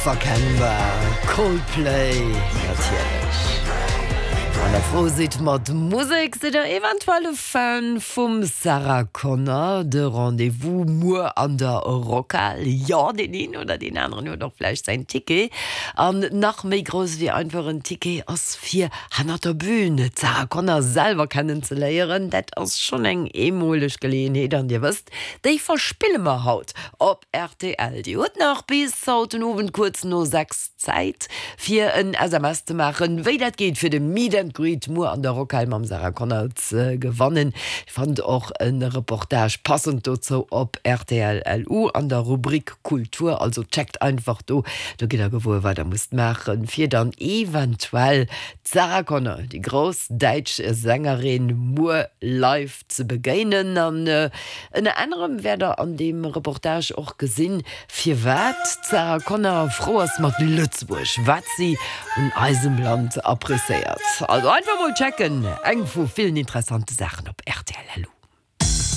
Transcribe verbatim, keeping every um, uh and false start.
Verkennbar, Coldplay natierlech. Wann der frou sidd mat Musek, sidd der eventuell e Fan vum Sarah Connor? De Rendez-vous muer an der Rockhal, jo, deen een oder deen aneren huet och vläicht säin Ticket. An nach méi grouss wéi einfach en Ticket ass fir hannert der Bühn d'Sarah Connor selwer kennen ze léieren. Dat ass schonn eng eemoleg Geleeënheet an dir wësst, déi verspille mer haut op rtl. Dir hutt nach bis haut den Owend kuerz no sechs Zäit fir en S M S ze maachen, wéi dat geet fir de Meet and Greet muer an der Rockhal mam Sarah Connor ze gewannen. Dir fannt och e Reportage passend dozou op rtl L U an der Rubrik Kultur, also checkt einfach do, do gitt der gewuer wat der musst maachen, fir dann eventuell d'Sarah Connor, déi grouss däitsch Sängerin, muer live ze begéinen. An ënner anerem wäert der an deem Reportage och gesinn, firwat d'Sarah Connor frou ass mat Lëtzebuerg, wat si un eisem Land appréciéiert. Also einfach mol checken, eng vu villen interessante Saachen op rtl.